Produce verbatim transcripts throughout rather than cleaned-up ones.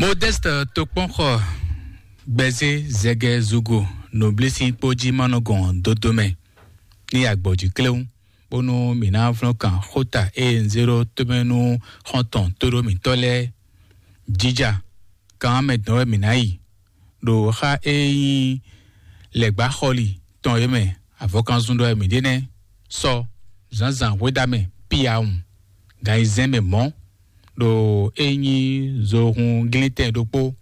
Modeste Tokpɔnxɔ gbɛzé zɛgɛ zugo nǔblísín kpó jí ma nɔ gɔn dodo mɛ ní agbɔ̌jí kléwún, bónú mǐ ná vlɔ́n kan xóta e un zé ɖó tómɛ nú xɔ́ntɔn tóɖó mǐtɔn lɛ́ɛ. Jija kan mɛ dɔn wɛ mǐ ná yi ɖo xá e nyí lɛ̌gbáxɔli tɔn e mɛ avɔkanzun ɖɔ wɛ mǐ ɖe nɛ́. Sɔ zǎnzǎn hwedamɛ piyawun gan ayizɛ́n mɛ mɔ̌ ɖo e nyí zohun glíntɛn ɖokpó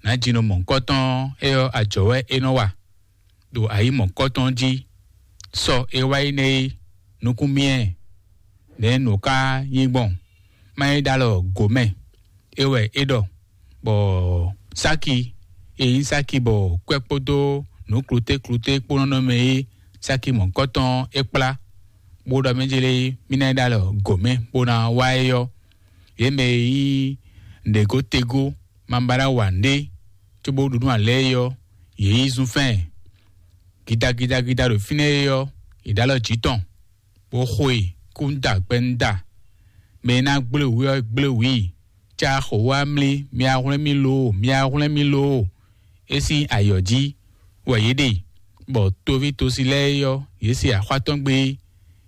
nǎjínɔ mɔ̌hunkɔtɔn é ɔ́ ajɔ̌ wɛ é nɔ wa ɖo ayǐ mɔ̌hunkɔtɔn jí. Sɔ e wá yi nɛ́ é nukún myɛ nɛ̌ nǔ ká nyí gbɔn má nyí ɖó alɔ gǒ mɛ é wɛ é ɖɔ, bɔ sáki e nyí sáki bɔ kwɛ́ kpódó nǔ kluté kluté kpó nɔ nɔ mɛ é sáki mɔ̌hunkɔtɔn é kplá bó ɖɔ mɛ jélé mí ná yi ɖó alɔ gǒ mɛ bó ná wá é ɔ́, yě mɛ e nyí nɖěgótegó ma ba ná wa nǔɖé cóbó ɖu nú alɛ é ɔ́, yě yi zún fɛ́n ɛ. Gidagidagida ɖo fínɛ́ é ɔ́, yě ɖó alɔ jǐ tɔn, bó xo e kú ń da gbɛ ń da. Mɛ e ná gblé wǔ ɔ́ gblé wǔ i, cá xo wá mlí, mi wá hwlɛ́n mì loo, mi wá hwlɛ́n mì loo. É sín ayɔ̌ jí wɛ yě ɖe, bɔ toví tosi lɛ́ɛ é ɔ́, yě se axwá tɔn gbé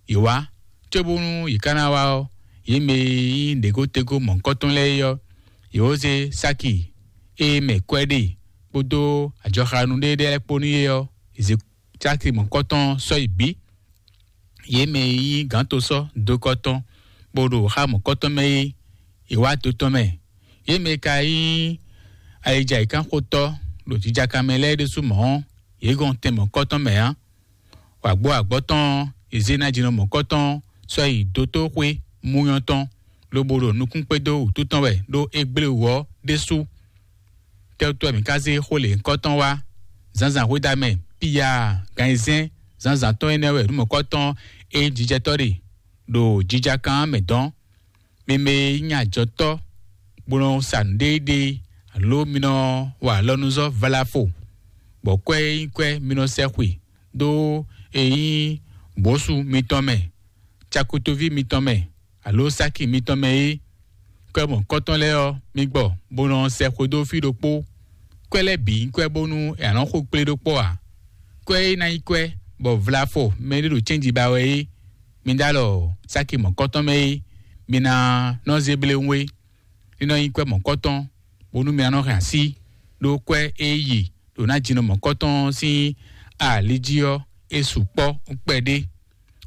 yě wá, cóbónú yě ká ná wá ɔ́, yě mɛ e nyí nɖěgótegó mɔ̌hunkɔtɔn lɛ́ɛ é ɔ́, yě wó zé sáki e mɛ kwɛ́ ɖe kpódó ajɔxanu ɖé lɛ́ɛ kpó nú é ɔ́, yě zé sáki mɔ̌hunkɔtɔn sɔ́ yi bǐ. Yě mɛ e nyí gǎntosɔ́ dokɔtɔn bó ɖo xá mɔ̌kɔtɔn mɛ é, yě wá do tɔn mɛ. Yě mɛ e ka nyí ayijǎyǐkánxotɔ́ ɖo jijaka mɛ lɛ́ɛ ɖésú mɔ̌ ɔ́, yě gɔn tɛn mɔ̌kɔtɔn mɛ ǎ. Wǎgbó agbɔ̌ tɔn ɔ́, yě zé ná jínɔ mɔ̌kɔtɔn sɔ́ yi dotóxwé múnyɔ́ tɔn, lobo ɖo nukún kpédó wǔtu tɔn wɛ ɖó é gblé wǔ ɔ́ ɖésú. Tɛ́wútɔ́ mǐ ka zé xó lě nyǐkɔ tɔn wá? Zǎnzǎn hwedamɛ piya gan ayizɛ́n zǎnzǎn tɔn énɛ́ wɛ nǔ mɔ̌kɔtɔn e nyí jijɛtɔ́ ɖe ɖo jijakan mɛ dɔn. Mi mɛ e nyí ajɔtɔ́, bó nɔ sa nǔɖéɖé, alo mi nɔ wa alɔnuzɔ́ valafo, bɔ kwɛ́ e nyí kwɛ́ mi nɔ sɛ xwe dó e nyí bǒsu mitɔn mɛ, cakutoví mitɔn mɛ, alo sáki mitɔn mɛ é. Kwɛ́ mɔ̌kɔtɔn lɛ́ɛ ɔ́, mi gbɔ, bó nɔ sɛ xwedó fí ɖokpó. Kwɛ́ lɛ́ɛ bǐ nyí kwɛ́ bónú è nǎ nɔ xo kplé ɖó kpɔ́ ǎ. Kwɛ́ e ná nyí kwɛ́ bɔ vlafɔ mɛɖé ɖo cɛ́nji ba wɛ é, mi ɖó alɔ sáki mɔ̌kɔtɔn mɛ é, mi ná nɔ zé bléwún é. Ní nɔ nyí kwɛ́ mɔ̌kɔtɔn, bónú mi ná nɔ hɛn así ɖó kwɛ́ e yi ɖo ná jinɔ mɔ̌kɔtɔn sín ali jí ɔ́, é sukpɔ́ kpɛɖé.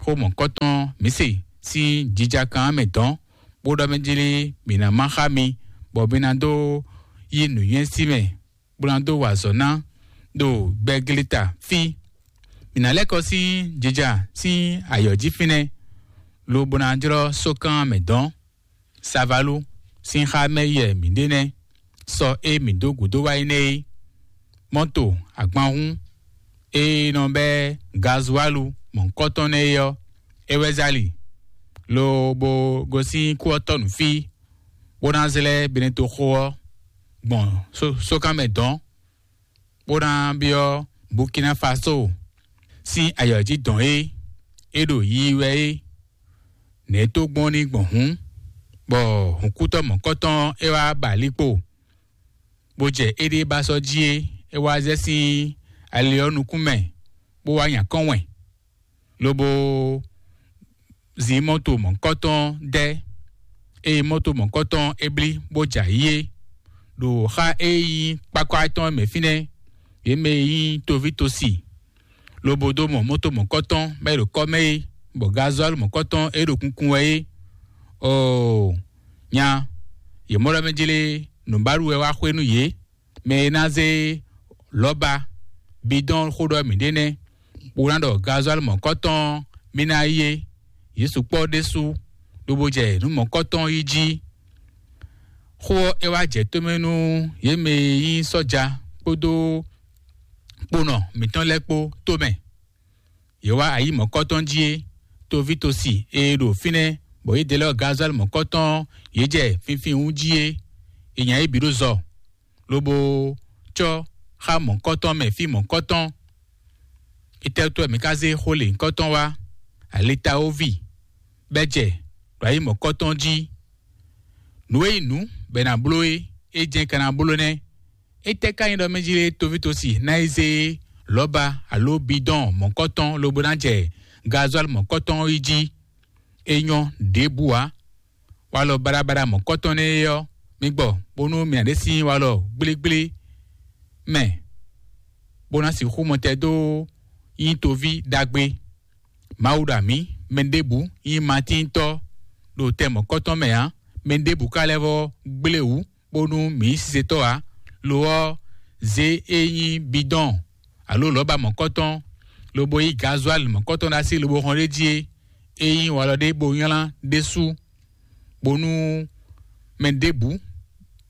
Xó mɔ̌kɔtɔn mǐ se sín jija kan mɛ dɔn, bó ɖɔ mɛ jlí mǐ ná má xá mi, bɔ mi ná dó yí nǔnywɛ́ sí mɛ, bó ná dó wa azɔ̌ ná ɖo gbɛgleta fí. Mǐ ná lɛ́ kɔ sín jija sín ayɔ̌ jí fínɛ́, lobo ná jlɔ́ sókan mɛ dɔn. Savalu sín xá mɛ yɛ mǐ ɖe nɛ́, sɔ e mǐ dó gǔdo wá yi nɛ́ é. Mɔ́to agbanhún e nɔ bɛ́ gazualu mɔ̌hunkɔtɔn nɛ́ é ɔ́, é wɛ zali, lobo gosín kú ɔ́ tɔ́ nǔ fí, bó ná zlɛ́ Benetoxo ɔ́ gbɔn sókan mɛ dɔn, bó ná byɔ́ Burkina Faso sín ayɔ̌ jí dɔn é, é ɖo yiyi wɛ é. Nɛ̌ tó gbɔn ní gbɔn hǔn, bɔ hǔnkútɔ́ mɔ̌kɔtɔn é wá ba líkpo, bó jɛ éɖée ba sɔ́ jí é, é wá zɛ sín ali ɔ́ nukún mɛ, bó wá nya kɔn wɛn, lobo zin mɔto mɔ̌kɔtɔn dɛ́, eye mɔto mɔ̌kɔtɔn é blí bó jɛ ayǐ é. Ɖo xá e nyí kpákpá tɔn mɛ fínɛ́, yě mɛ e nyí toví tosi, lobo dó mɔ mɔto mɔ̌kɔtɔn mɛ e ɖo kɔ́ mɛ é, bɔ gazɔ́lu mɔ̌kɔtɔn e ɖo kunkun wɛ é. Oo, nya, yě mɔ ɖɔ mɛ jlé nǔbaɖu wɛ wá xwé nú yě. Mɛ e ná zé lɔ̌ba bidɔn xó ɖɔ mǐ ɖe nɛ́, bó ná ɖɔ gazɔ́lu mɔ̌kɔtɔn mì ná yi é. Yě sukpɔ́ ɖésú, lobo jɛ nǔ mɔ̌kɔtɔn yi jí. Xó ɔ́ é wá jɛ tómɛ nú yě mɛ e nyí sɔ́ja kpódó kponɔ mǐtɔn lɛ́ɛ kpó tómɛ. Yě wá ayǐ mɔ̌kɔtɔn jí é, toví tosi e ɖo fínɛ́, bɔ yě dɛ lɛ́ gazɔ́lu mɔ̌kɔtɔn yě jɛ finfin wú jí é. È nya yě bǐ ɖó zɔ, lobo cɔ́ xá mɔ̌kɔtɔn mɛ fí mɔ̌kɔtɔn. Itɛ́wútu wɛ mǐ ka zé xó lě nyǐkɔtɔn wá? Alitawovi bɛ́ jɛ ɖo ayǐ mɔ̌kɔtɔn jí. Nǔ e nyí nǔ bɔ è nǎ bló é, é jɛ́n ka ná bló nɛ́. Étɛ́ ka nyí ɖɔ mɛ jí lé toví tosi ná yi zé lɔ̌ba alo bidɔn mɔ̌kɔtɔn lobo ná jɛ gazuali mɔ̌kɔtɔn yi jí? É nyɔ́ ɖěbǔ ǎ. Walɔ baɖabaɖa mɔ̌kɔtɔn nɛ́ é ɔ́, mi gbɔ bónú mǐ ná ɖe sín walɔ gblégblé mɛ, bó ná sixú mɔ tɛn dó nyí toví ɖagbe. Mawu ɖo amǐ, mɛ ɖěbǔ nyí matíntɔ́ ɖo tɛn mɔ̌kɔtɔn mɛ ǎ. Mɛ ɖěbǔ ka lɛ́ vɔ́ gblé wǔ bónú mǐ nyí sisetɔ́ ǎ. Lo ɔ́, zě e nyí bidɔn alo lɔ̌ba mɔ̌kɔtɔn, lobo yí gazuali mɔ̌kɔtɔn ɖo así lobo hɔn ɖ'é jí é, é nyí walɔ ɖé bó nylá ɖésú, bónú mɛ ɖěbǔ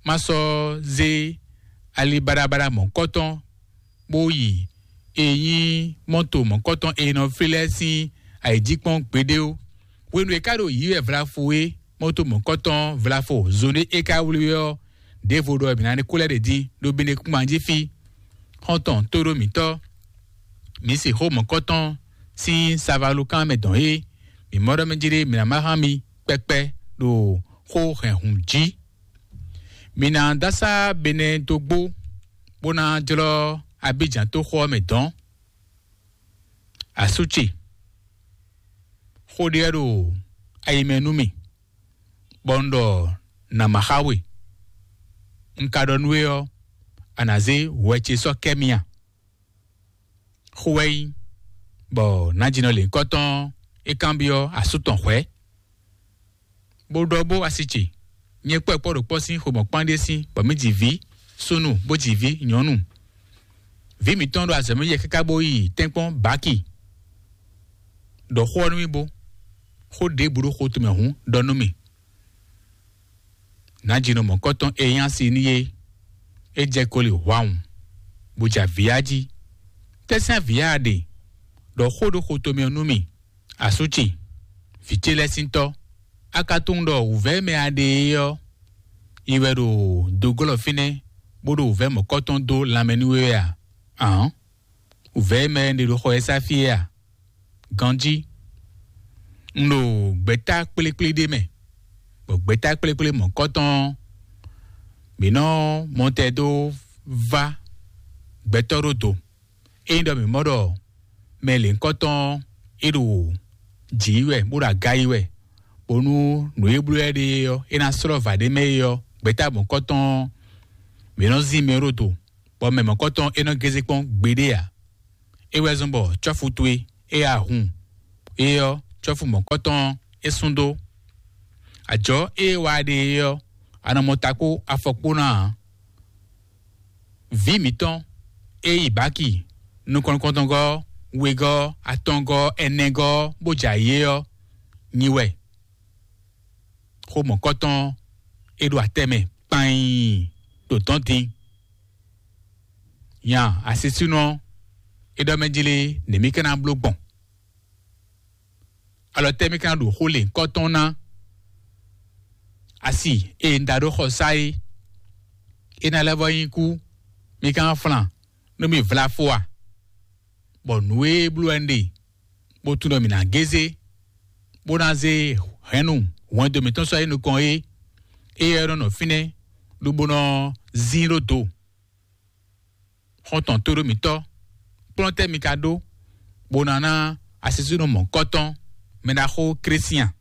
má sɔ́ zé ali baɖabaɖa mɔ̌kɔtɔn bó yi e nyí mɔto mɔ̌kɔtɔn e nɔ flí lɛ́ɛ sín ayǐjínjɔ́n gbeɖé ó. Hwenu e ka ɖo yǐ wɛ vlafo é, mɔto mɔ̌kɔtɔn vlafo zɔn ɖé é ka wlí ɔ́, ɖěvo ɖɔ mǐ ná ní kú lɛ́ ɖě dín ɖó bǐ ɖě kún jí fí. Xɔ́ntɔn tóɖó mǐtɔn, mǐ se xó mɔ̌kɔtɔn sín savalukán mɛ dɔn é, mǐ mɔ ɖɔ mɛ jí ɖé mǐ ná má hán mi kpɛkpɛ ɖo xó hɛn hǔn jí. Mǐ ná dó asá Benɛ́ dó gbó, bó ná jlɔ́ Abíjan tó xó ɔ́ mɛ dɔ̌n. Asú ce, xó ɖé wɛ ɖo ayi mɛ nú mì, bɔ un ɖɔ nǎ ma xá we. Un ka ɖɔ nú we ɔ́, a nǎ zé hwɛ ce sɔ́ kɛ́ mì a? Xó wɛ nyí, bɔ nǎjínɔ lěhunkɔtɔn é kanbyɔ́ asú tɔn hwɛ̌, bó ɖɔ bó asi ce, nyɛ kpɔ́ kpɔ́ ɖo kpɔ́ sín xomɔ̌kpán ɖé sín, bɔ mǐ ji vǐ súnnu bó ji vǐ nyɔ̌nu. Vǐ mǐtɔn ɖo azɔ̌ mɛ yɛ káká bó yi tɛ́nkpɔ́n bǎki. Ɖɔ xó ɔ́ nú mì bó, xó ɖěbǔ ɖo xo tɔn mɛ hǔn ɖɔ nú mì. Nǎjínɔ mɔ̌kɔtɔn e nyí asi n'i é, é jɛ koli hwawun, bó jɛ avǐ ya jí. Tɛ́sɛ́n avǐ ya a ɖe? Ɖɔ xó ɖo xo tɔn mɛ ɔ́ nú mì. Asú ce, vǐ ce lɛ́ɛ sín tɔ́, a ka tunwun ɖɔ wǔvɛ́ mɛ a ɖe é ɔ́, yi wɛ ɖo doglɔ́ fínɛ́, bó ɖo wǔvɛ́ mɔ̌kɔtɔn dó lanmɛ nú we wɛ a? Ǎn, wǔvɛ́ mɛ ɖe ɖo xɔ ɛ sá fí é a? Ganjí, un ɖo gbɛ̌ta kplékplé ɖé mɛ, bɔ gbɛ̌ta kplékplé mɔ̌kɔtɔn ɔ́, mǐ nɔ mɔ tɛ dó vá gbɛtɔ́ ɖó do. Ényí ɖɔ mǐ mɔ ɖɔ mɛ lěhunkɔtɔn ɔ́, é ɖo jǐ yi wɛ, bó ɖo aga yi wɛ, bónú nǔ e bló ɛ ɖe é ɔ́, é ná slɔ́ vǎ ɖé mɛ é ɔ́, gbɛ̌ta mɔ̌kɔtɔn ɔ́, mǐ nɔ zín mɛ ɖó do, bɔ mɛ mɔ̌kɔtɔn é nɔ gézé kpɔ́n gbeɖé ǎ. É wɛ zɔ́n bɔ cɔ́fu towe e a hun é ɔ́, cɔ́fu mɔ̌kɔtɔn ɔ́, é sú dó. Ajɔ̌ e é wa ɖe é ɔ́, a nɔ mɔ ta kpó afɔ kpó ná ǎ. Vǐ mǐtɔn e yi bǎki nukɔn nukɔntɔngɔ́, wegɔ́, atɔngɔ́, ɛnɛgɔ́, bó jɛ ayǐ é ɔ́, nyi wɛ. Xó mɔ̌kɔtɔn é ɖo atɛ mɛ kpain ɖo dɔ̌n din. Nya asisúnɔ é ɖɔ mɛ jí lé, nɛ̌ mì ka ná bló gbɔn? Alɔ tɛ́ mì ka ná ɖo xó lěhunkɔtɔn ná? Asi e un da ɖó xɔ sá é, é ná lɛ́ vɔ nyí kú, mì ka ná flan nú mì vlafo a? Bɔ nǔ e bló wɛ un ɖe, bó tunwun ɖɔ mǐ ná gézé, bó ná zé hɛ̌nnu hwɛndo mǐtɔn sɔ́ yi nukɔn é, éyɛ́ nɔ nɔ fínɛ́, lobo nɔ zín ɖó do. Xɔ́ntɔn tóɖó mǐtɔn, kplɔ́n tɛ́ mi ka ɖó, bó ná ná asisúnɔ mɔ̌kɔtɔn, mɛ ɖaxó Klísian?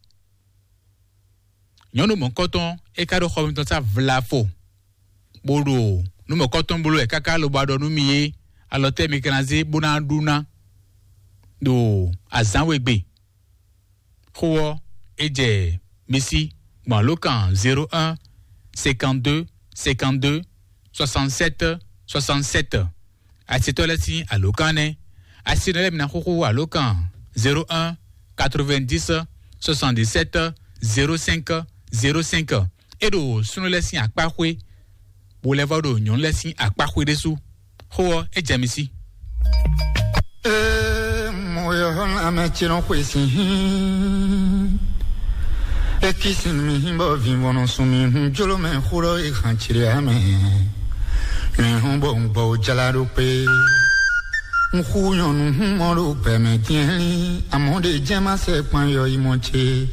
Nyɔ̌nu mɔ̌kɔtɔn, é ka ɖo xɔ mitɔn sá vlafo, bó ɖo nǔ mɔ̌kɔtɔn bló wɛ káká lobo ɖɔ nú mi é, alɔ tɛ́ mi ka ná zé bó ná ɖu ná ɖo azǎn we gbe? Xó ɔ́, é jɛ mi sí gbɔn alǒkan zéro un cinquante-deux cinquante-deux soixante-sept soixante-sept. Asitɔ́ lɛ́ɛ sín alǒkan nɛ́. Asinɔ lɛ́ɛ mi ná xúxú alǒkan zéro un quatre-vingt-dix soixante-dix-sept zéro cinq zéro cinq. É ɖo súnnu lɛ́ɛ sín akpá xwé, bó lɛ́ vɔ ɖo nyɔ̌nu lɛ́ɛ sín akpá xwé ɖésú. Xó ɔ́, é jɛ mi sí. Ee, mo yɔ ame tsi nɔ xwe si hin. Eki sin mi hin bɔ vivɔnɔ sun mi hun jolo mɛ xulɔ e han tsiri ame. Mi hun bɔ un bɔ jala ɖo kpe. Un xu nyɔnu hun mɔ ɖo gbɛ mɛ diɛn. Amɔ ɖe jɛ ma sɛ kpan yɔ yi mɔ ce.